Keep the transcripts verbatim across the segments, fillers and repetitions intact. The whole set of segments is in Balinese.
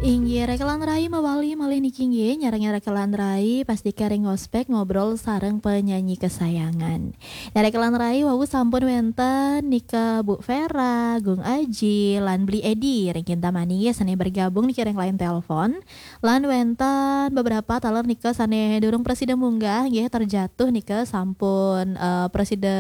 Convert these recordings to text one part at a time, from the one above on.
Inggih, Rekelan Rai mawali malih niki inggih, nyarengin Rekelan Rai, pastika ring ngospek ngobrol sareng penyanyi kesayangan. Nah, Rekelan Rai wau sampun wenten nika Bu Vera, Gung Aji, lan Bli Edi ring Kintamani nggih sane bergabung niki ring line telepon. Lan wenten beberapa taler nika sane durung prasida munggah nggih, terjatuh nika sampun, eh, prasida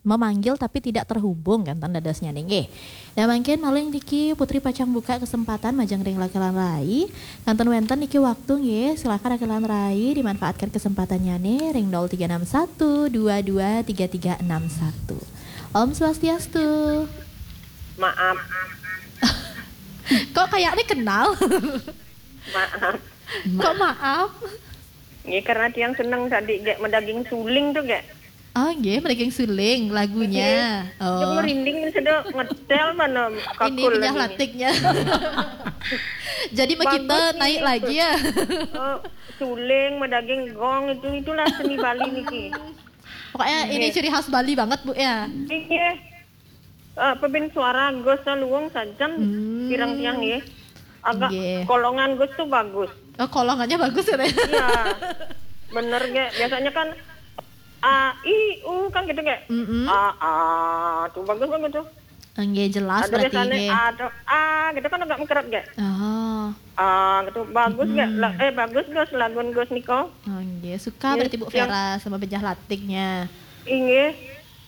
memanggil tapi tidak terhubung kan dadosnya nggih. Nah, mangkin malih niki Putri pacang buka kesempatan majeng ring Rekelan Rai. Kantun wenten niki waktu nggih, silakan Rekelan Rai dimanfaatkan kesempatannya nih ring nol tiga enam satu dua dua tiga tiga enam satu. Om Swastiastu. Maaf. Kok kayaknya kenal? Maaf. Kok maaf? Nggih, karena tiang seneng tadi gek medaging suling tuh gek. Oh, nggih, medaging suling lagunya. Nggih. Oh. Cuma merinding sedok ngedel mana. Ini kakul penyah lagi. Latiknya. Jadi mah kita bagus nih, naik lagi ya. Oh, suling, medaging gong itu, itulah seni Bali niki. Pokoknya ini ciri khas Bali banget, Bu, ya. Iya. Eh, pepin suara Gus luwung sajan. Hmm. Pirang tiang nggih. Agak nggih. Kolongan Gus tuh bagus. Oh, kolongannya bagus ya, Teh? Iya. Bener gek. Biasanya kan A, I, U kan gitu gek. Mm-mm. A, A, tuh bagus banget tuh. Nggih, jelas. Ada berarti biasanya nggih. A, tuh, A gitu kan agak mengkeret gek. Oh. A gitu bagus gek. Mm-mm. La-, eh, bagus Gus, lagun Gus niko. Oh, nggih, suka berarti Bu Vera sama penyah latiknya. Inggih.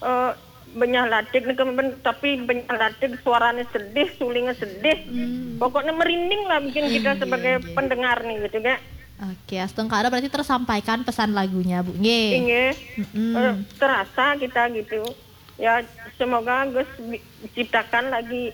Eh, penyah latik nih, tapi penyah latik suaranya sedih, sulingnya sedih. Hmm. Pokoknya merinding lah bikin kita sebagai pendengar nih gitu, Kak. Oke, astungkara berarti tersampaikan pesan lagunya, Bu. Nggih. Inggih. Mm-mm. Eh, terasa kita gitu. Ya, semoga Gus bi-, ciptakan lagi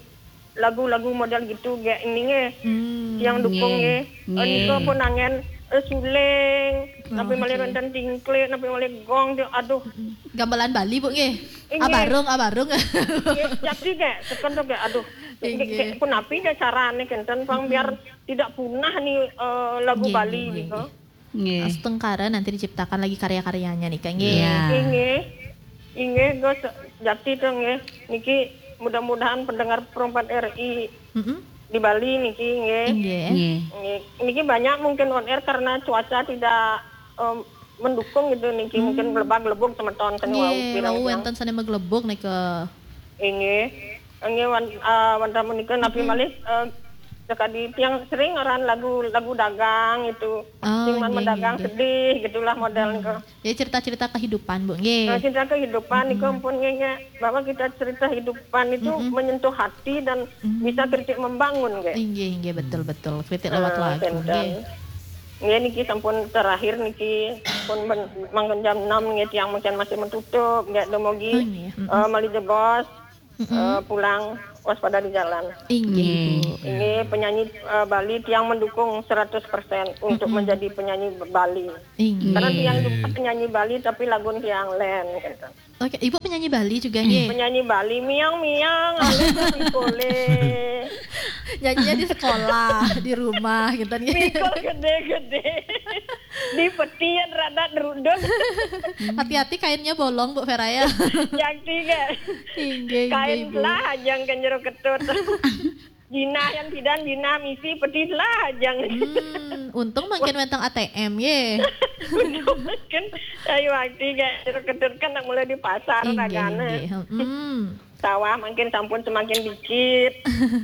lagu-lagu model gitu, gek ini nggih. Hmm. Yang dukung nggih. Nggih. Nggih. Nika pun angen, eh, suling, tapi malih wenten tingklik, tapi malih gong, dia, aduh. Mm-mm. Gamelan Bali, Bu, nggih. Inggih. Abarung, abarung. Nggih, jadi gek, seken tuh gek, aduh. Inggih. Gek, gek, punapi gek carane kenten, pang biar tidak punah nih, eh, lagu Bali gitu. Nggih, nggih, nggih. Nggih. Astungkara nanti diciptakan lagi karya-karyanya nih, Kak, nggih. Iya. Inggih. Inggih, Gus, jakti to nggih. Niki mudah-mudahan pendengar Pro empat R I di Bali niki nggih. Inggih. Nggih. Nggih. Niki banyak mungkin on air karena cuaca tidak, em, mendukung gitu niki. Hmm. Mungkin glebag-glebug semeton seni wau pirang-pirang. Nggih, wau wenten sane maglebug nika. Inggih. Inggih, wan-, eh, wantah menika napi malih, eh, sekadi tiang sering ngaran lagu, lagu dagang itu. Oh, sing man nggih, medagang nggih, nggih. Sedih gitulah model nika. Ya, cerita-cerita kehidupan, Bu, nggih. Nah, cerita kehidupan niku ampun nggih, nggih. Bahwa kita cerita kehidupan itu menyentuh hati dan bisa kritik membangun, nggih. Inggih, inggih, betul, betul. Kritik lewat lagu, nggih. Nggih, niki sampun terakhir niki pun ben-, mangkin jam enam nggih, tiang mangkin masih menutup, nggih, dumugi, eh, malih jebos. Eh, pulang waspada di jalan. Inggih, Ibu. Inggih, penyanyi, eh, Bali tiang mendukung seratus persen untuk menjadi penyanyi Bali. Inggih. Karena tiang juga penyanyi Bali, tapi lagu tiang lain, gitu. Oke, Ibu penyanyi Bali juga, nggih? Penyanyi Bali, miang-miang, alis, kole. Nyanyinya di sekolah, di rumah, gitu, nggih. Mikul gede-gede. Di petian rada deruduk. Hati-hati kainnya bolong, Bu Vera, ya. Yang tiga. Inggih, inggih, Ibu. Kain lah aja ke jero ketut. Jinah yang tidak, jinah misi, peti lah aja. Hmm, untung mangkin wenten A T M, ye. Untung mangkin, ayo, waktu gak jero ketut kan nak mulai di pasar. Inggih, dagane. Inggih. Hmm. Sawah mangkin sampun semakin dikit.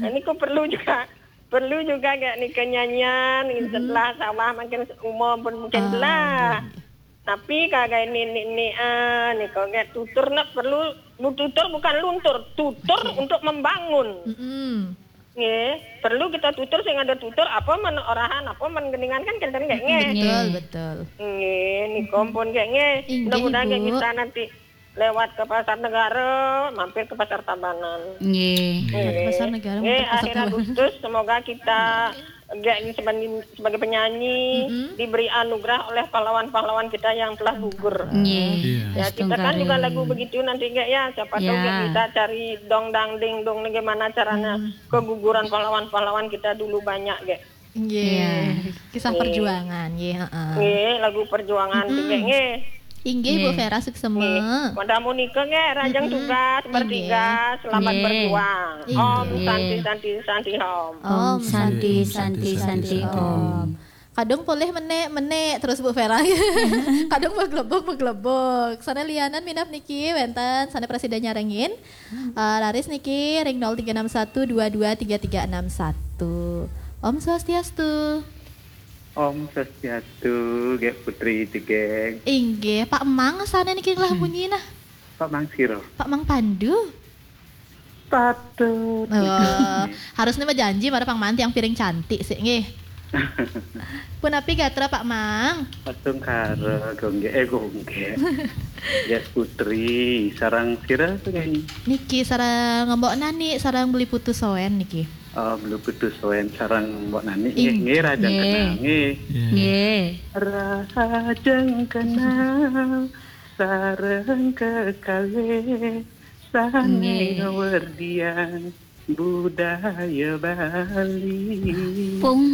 Nah, ini kok perlu juga, perlu juga gak nih kenyanyian, gitu. Setelah sawah mangkin umur pun mungkin lah. Inggih. Tapi kagak ini, ini, ini, ah, nih, kok gak tutur nak perlu, lu tutur bukan luntur, tutur untuk membangun. Mm-mm. Nggih, perlu kita tutur sing ada tutur apa men orahan, apa men geningan kan kenten gak nggih? Betul, betul. Nggih, nih kompon gak nggih? Inggih, mudah-mudahan Bu. Gak kita nanti lewat ke Pasar Negara, mampir ke Pasar Tabanan. Nggih. Nggih. Pasar Negara, nggih, mampir Pasar Tabanan. Akhir Agustus, semoga kita gak ini sebagai, sebagai penyanyi diberi anugerah oleh pahlawan-pahlawan kita yang telah gugur. Nggih. Iya. Ya, kita kan juga lagu begitu nanti gak ya, siapa tahu gak bisa cari dong dang ding dong nih gimana caranya keguguran pahlawan-pahlawan kita dulu banyak gak. Nggih. Iya. Kisah perjuangan, nggih, heeh. Nggih, lagu perjuangan juga, nggih. Inggih, Bu Vera, suksma. Nggih. Wanda Monika nggih, rajeng tugas bertiga, selamat berjuang. Inggih. Om Santi, Santi, Santi, Om. Om Santi, Santi, Santi, Om. Kadung polih menék-menék terus, Bu Vera. Kadung maglebug-maglebug. Sané lianan minab niki wénten sané prasida nyarengin. Eh, laris niki ring nol tiga enam satu dua dua tiga tiga enam satu. Om Swastiastu. Om Swastiastu, Gék Putri Tigeng. Inggih, Pak Mang sané niki ngelah munyi nah. Pak Mang sira? Pak Mang Pandu. Patut. Oh, harusnya mah janji marang Pak Mang tiang piring cantik sih, nggih. Punapi gatra, Pak Mang? Astungkara, Gung Gék, eh, Gung Gék. Gék Putri, sareng sira, Gung Gék? Niki sareng Mbok Nani, sareng Beli Putu Soen niki. Oh, Beli Putu Soen sareng Mbok Nani, nggih, nggih, rajeng kenal, nggih. Nggih. Rajeng kenal, sareng kekalih, sané werdiang budaya Bali. Pung.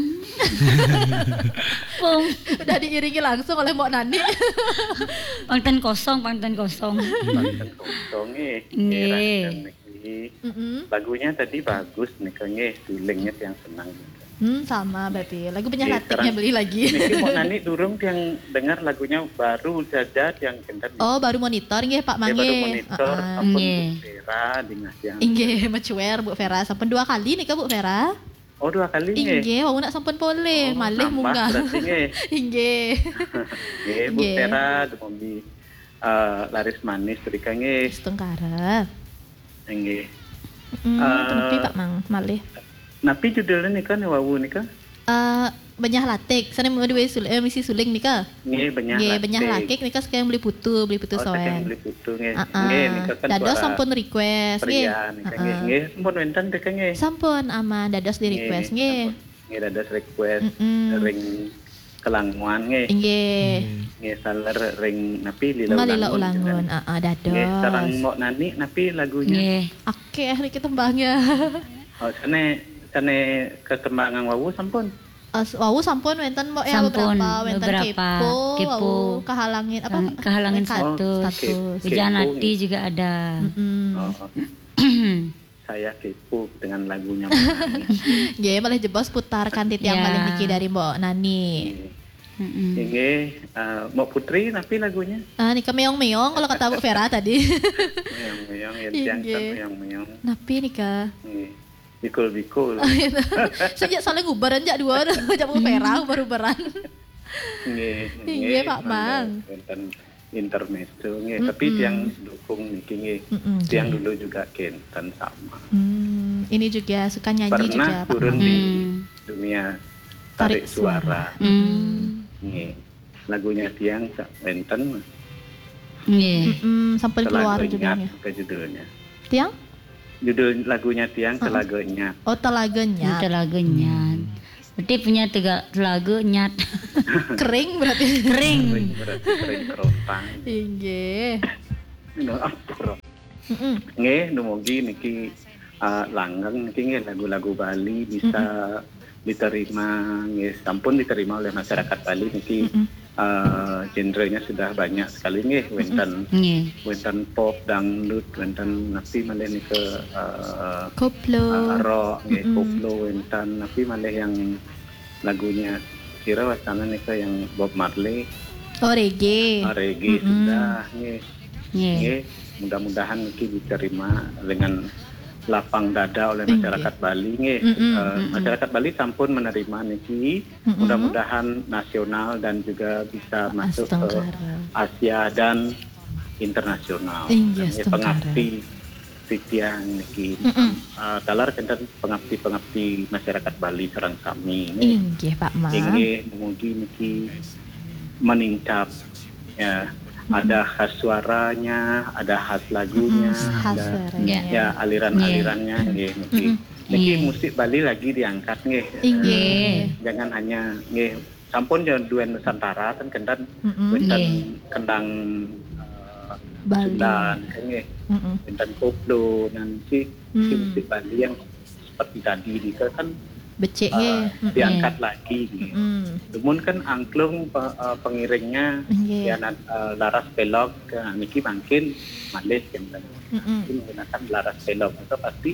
Pung. Udah diiringi langsung oleh Mbok Nani. Pangten kosong, pangten kosong. Pangten kosong, nggih. Nggih. Rajeng niki. Mm-mm. Lagunya tadi bagus nika, nggih, sulingnya tiang senang. Hmm, sama berarti. Lagu Benyah Latiknya beli lagi. Niki Mbok Nani durung tiang dengar lagunya, baru saja tiang kentet. Oh, baru monitor nggih, Pak Mang, nggih, baru monitor, sampun Bu Vera dingeh tiang. Inggih, mecuer Bu Vera. Sampun dua kali nika, Bu Vera. Oh, dua kali nggih. Inggih, wau nak sampun polih, malih munggah. Berarti nggih. Inggih. Nggih, Bu Vera, dumugi, eh, laris manis rika nggih. Astungkara. Inggih. Mm, punapi, Pak Mang, malih. Napi judulnya nika, nih, wau nika? Eh, Benyah Latik. Sané madué sul-, eh, misi suling nika. Nggih, Benyah Latik. Nggih, Benyah Latik nika saking Beli Putu, Beli Putu Soen. Oh, saking Beli Putu, nggih. Nggih, nika kan dados suara sampun request, nggih. Pria nika, nggih. Nggih, sampun wénten nika, nggih. Sampun, aman, dados di request, nggih. Sampun. Nggih, dados request ring Kelanguan, nggih. Inggih. Nggih, saler ring napi, Lila Ulangun. Lila Ulangun, heeh, dados. Nggih, sareng Mbok Nani napi lagunya? Nggih. Akéh niki tembangnya. Oh, sané, sané ketembangan wau sampun? Eh, wau sampun wénten, Mbok, ya, beberapa. Wénten beberapa. Kepo, wau Kehalangin, apa? Kehalangin status. Status. Hujan Hati juga ada. Mm-mm. Oh. Saya kepo dengan lagunya Mbok Nani. Nggih, malih jebos putar kanthi tiang malih niki dari Mbok Nani. Nggih. Mm-mm. Inggih, eh, Mbok Putri, napi lagunya? Ah, nika meong-meong kalau kata Bu Vera tadi. Meong-meong, ya, tiang kan meong-meong. Napi nika? Nggih. Bikul-bikul. Sejak saling uberan jak dua, jak Bu Vera uber-uberan. Nggih, inggih, Pak Mang. Wénten intermezzo, nggih. Tapi tiang dukung niki, nggih. Mm-mm, tiang dulu juga kénten sama. Hmm, ini juga suka nyanyi juga, Pak Mang. Pernah turun di dunia tarik suara. Hmm. Nggih. Lagunya tiang sa-, wénten. Nggih. Mm-mm, sampun keluar judulnya. Telaga Nyat ke judulnya. Tiang? Judul lagunya tiang Telaga Nyat. Oh, Telaga Nyat. Telaga Nyat. Berarti punya tega-, telaga nyat. Kering berarti. Kering. Kering berarti, kering kerontang. Inggih. Nah, ampun. Mm-mm. Nggih, dumugi niki, eh, langgeng niki nggih, lagu-lagu Bali bisa diterima nggih, sampun diterima oleh masyarakat Bali niki. Mm-mm. Eh, genrenya sudah banyak sekali nggih, wénten, nggih, wénten pop, dangdut, wénten napi malih nika, eh, koplo, eh, rock nggih, koplo wénten, napi malih yang lagunya sira wastana nika yang Bob Marley. Oh, reggae. Ah, reggae sudah nggih. Nggih. Nggih, mudah-mudahan niki diterima dengan lapang dada oleh masyarakat Bali nggih. Mm-mm, eh, masyarakat Bali sampun menerima niki. Mudah-mudahan nasional dan juga bisa masuk ke Asia dan internasional. Inggih, pengabdi titiang niki. Eh, taler kénten pengabdi-pengabdi masyarakat Bali sareng sami nggih. Inggih, Pak Mang. Inggih, mugi niki meningkat, ya. Ada khas suaranya, ada khas lagunya, ada, ya, aliran-alirannya nggih, niki. Niki musik Bali lagi diangkat nggih. Inggih. Jangan hanya nggih, sampun ya duén Nusantara kan kénten wénten kendang, eh, Bali. Sunda kan nggih. Wénten koplo, nah niki, niki musik Bali yang seperti tadi nika kan Becik nggih. Eh, diangkat lagi nggih. Dumun kan angklung pe-, eh, pengiringnya, nggih, ya, eh, laras pelog, eh, niki mangkin malih kan. Mungkin menggunakan laras pelog itu pasti,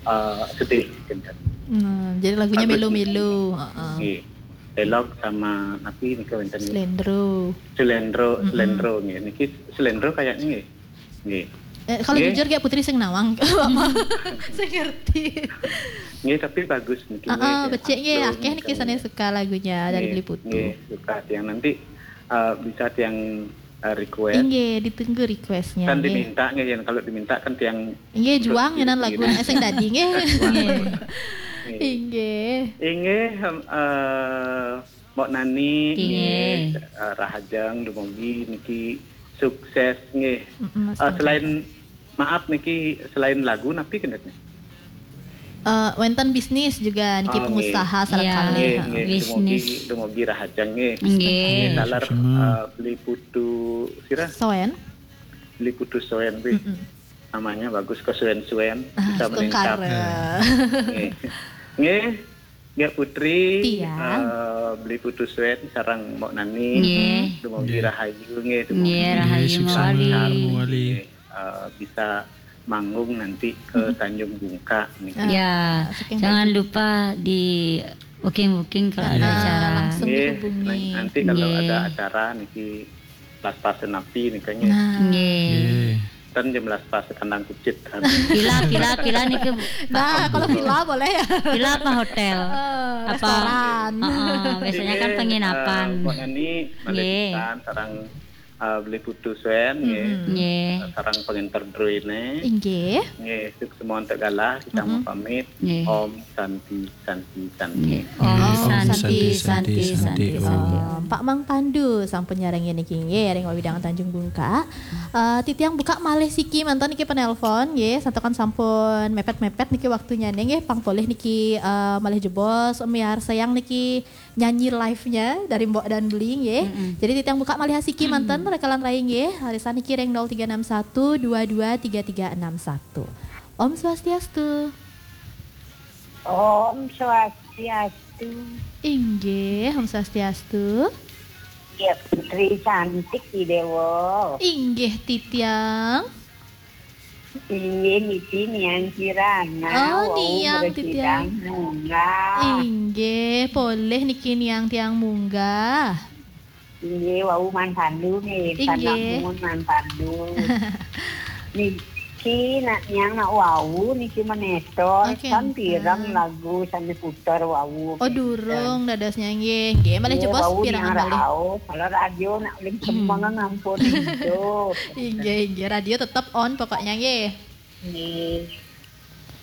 eh, sedih kan. Hmm, jadi lagunya melu-melu, heeh. Nggih. Pelog sama napi nika wenten? Slendro. Slendro, slendro nggih. Niki slendro kayaknya nggih. Nggih. Eh, kalau jujur, kayak Putri sing nawang. Saya ngerti. Nggih, tapi bagus niki. Heeh, becik nggih, akeh niki sane suka lagunya dari Beli Putu. Nggih, suka tiang nanti, eh, bisa tiang, eh, request. Nggih, ditunggu requestnya. Kan diminta nggih, yang kalau diminta kan tiang nggih, juang nyenan lagu sing dadi nggih. Nggih. Inggih. Inggih, em, eh, Mbok Nani, nggih, eh, rahajeng dumugi niki sukses nggih. Eh, selain, maaf niki, selain lagu napi kendetnya? Eh, wenten bisnis juga niki, pengusaha sareng kalih. Nggih, nggih, dumugi, dumugi rahajeng nggih. Nggih. Nggih, taler, eh, Beli Putu sira? Soen. Beli Putu Soen wih. Namanya bagus, ke Soen-Soen, bisa meningkat. Nggih. Nggih. Nggih, Putri, eh, Beli Putu Soen sareng Mbok Nani. Nggih. Dumugi rahayu nggih, dumugi rahayu mawali. Nggih, eh, bisa manggung nanti ke Tanjung Bungka niki. Ya, jangan lupa di booking-booking kalau ada acara. Langsung dihubungi. Nggih, nanti kalau ada acara niki las-pasen napi nika nggih. Nah. Nggih. Ten jam las-pasen kandang kucit. Pila, pila, pila niki. Nah, kalau pila boleh ya. Pila apa hotel? Eh, apa restoran. Heeh, biasanya kan penginapan. Nggih, eh, Mbok Nani, malih pisan sareng, eh, Beli Putu Soen nggih. Nggih. Sareng pengenter druene. Inggih. Nggih, sukses mawon tegala kita mau pamit. Nggih. Om Santi, Santi, Santi. Nggih. Om Santi, Santi, Santi, Santi, Om. Pak Mang Pandu sampun nyarengin niki nggih ring wewidangan Tanjung Bungka. Eh, titiang buka malih siki manten niki penelpon nggih, santukan sampun mepet-mepet niki waktunya nggih, pang polih niki, eh, malih jebos, miarsayang niki nyanyi live-nya dari Mbok dan Beli nggih. Jadi titiang buka malih siki manten rekalan rai nggih, arisan niki ring nol tiga enam satu dua dua tiga tiga enam satu. Om Swastiastu. Om Swastiastu. Inggih, Om Swastiastu. Ya, Putri cantik di Dewa. Inggih, titiang. Inggih, niki niang Kirana. Oh, wau niang titiang munggah. Inggih, polih niki niang tiang munggah. Inggih, wau Man Pandu nggih, inggih. Sanak mun Man Pandu. Niki nak niang nak wau niki menetor, oh, kan pirang lagu sane puter wau. Oh, durung dadosnya nggih. Nggih, malih jebos pirang malih. Kalau radio nak uling semeng ngampun itu. Inggih, inggih, radio tetep on pokoknya nggih. Nggih.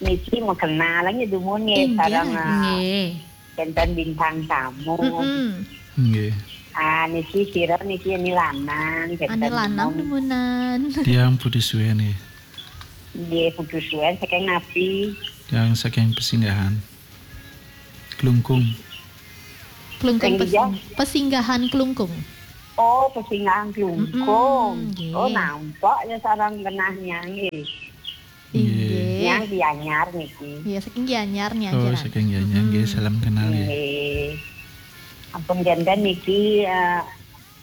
Niki mau kenal nggih dumun nggih, inggih, sareng, ah, nggih. Kenten bintang tamu. Nggih. Ah, niki sira niki ani lanang, kenten lanang dumun. Dumunan. Tiang Putu Suwen nggih. Nggih, Putu Suwen saking napi? Tiang saking Pesinggahan. Klungkung. Klungkung. Pesinggahan Klungkung. Oh, Pesinggahan Klungkung. Nggih. Oh, nampak ya sarang genahnya nggih. Inggih. Niang Gianyar niki. Iya, saking Gianyar niang. Oh, saking Gianyar nggih, salam kenal nggih. Nggih. Ampun janten niki, eh,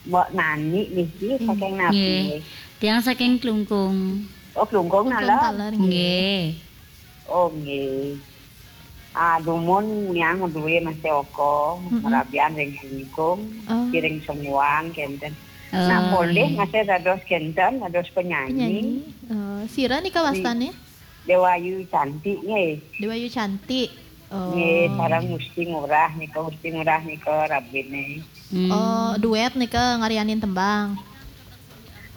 Mbok Nani niki saking napi? Nggih. Tiang saking Klungkung. Oh, Klungkung taler nggih. Nggih. Oh, nggih. Ah, dumun niang duwe Mas Joko, merabian ring Klungkung, kiring semuan kenten. Nah, polih masih dados kenten, dados penyanyi. Penyanyi. Eh, sira nika wastane? Dewayu Cantik nggih. Dewayu Cantik. Oh. Nggih, sareng Gusti Ngurah nika, Gusti Ngurah nika rabine. Oh, duet nika ngaryanin tembang.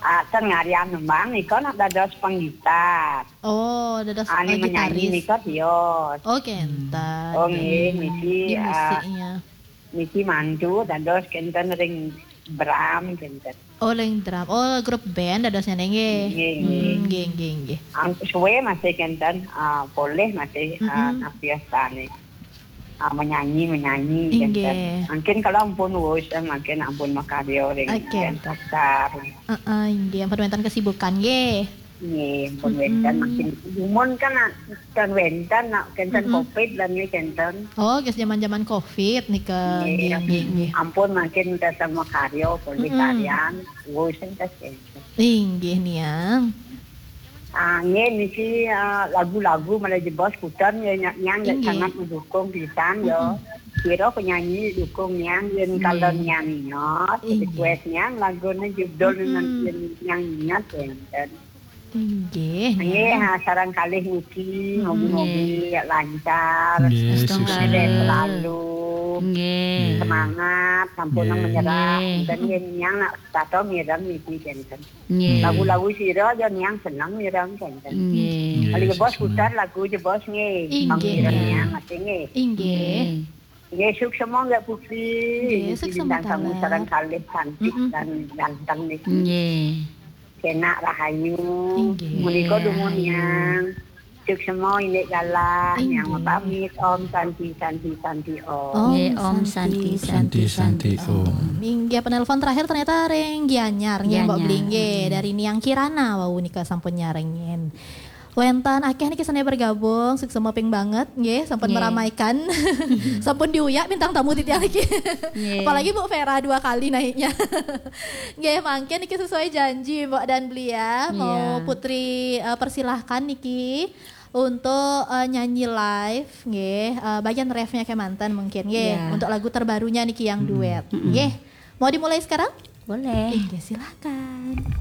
Ah, ten ngaryan tembang nika nak dados penggitar. Oh, dados, ane eh, menyanyi gitaris. Nika tios. Oh, kenten. Oh, nggih, niki, di ah, musiknya. Niki mantu dados kenten ring Bram kenten. Oh, ring drum. Oh, grup band dadosnya nggih. Nggih, nggih. Hmm, nggih, nggih, nggih. Ang-, suwe masih kenten, ah, polih masih, ah, napiastane. Ah, menyanyi, menyanyi kenten. Inggih. Mungkin kalau ampun wis, eh, mungkin ampun makarya ring band Tokar. Heeh, inggih. Ampun wenten kesibukan nggih. Nggih, ampun wénten, makin dumun kan, ah, ten wénten, nak, kenten covid lan nggih kenten. Oh, geus zaman-zaman covid nika. Nggih, nggih, nggih, nggih. Ampun makin kita sama karya, pencarian, wis entas kenten. Inggih, Niang. Ah, nggih niki, ah, lagu-lagu malah jebos puter ya, Niang, Niang, nggih, sangat mendukung pisan ya. Kira penyanyi dukung Niang, yen kalau Niang ingat, request Niang lagune judul Niang ingat kenten. Inggih, Nggih, ha, sareng kalih niki, mugi-mugi lancar. Nggih, sukses selalu. Nggih. Semangat, sampun menyerah. Nggih. Enten yen Niang nak tato mireng niki kenten. Nggih. Lagu-lagu sira aja Niang seneng mireng kenten. Nggih. Nggih, kali bos putar lagu aja bos nggih. Inggih. Pang mireng Niang nggih. Inggih. Nggih, suksma nggih Putri. Nggih, suksma bintang tamu sareng kalih cantik dan ganteng niki. Nggih. Kenak rahayu. Inggih. Menika dumun Niang. Suksma indik galah. Niang pamit. Om Santi, Santi, Santi, Om. Nggih, Om Santi, Santi, Santi, Om. Inggih, penelpon terakhir ternyata ring Gianyar nggih, Mbok Bli nggih, dari Niang Kirana wau nika sampun nyarengin. Wénten akeh niki sane bergabung, suksma ping banget nggih, sampun meramaikan. Sampun diuyak bintang tamu titiang niki. Apalagi Bu Vera dua kali naiknya. Nggih, mangkin niki sesuai janji Mbok dan Bli ya, mau Putri, eh, persilahkan niki untuk, eh, nyanyi live nggih, eh, bagian refnya kemanten mungkin nggih, untuk lagu terbarunya niki yang duet. Nggih. Mau dimulai sekarang? Boleh. Nggih, silakan.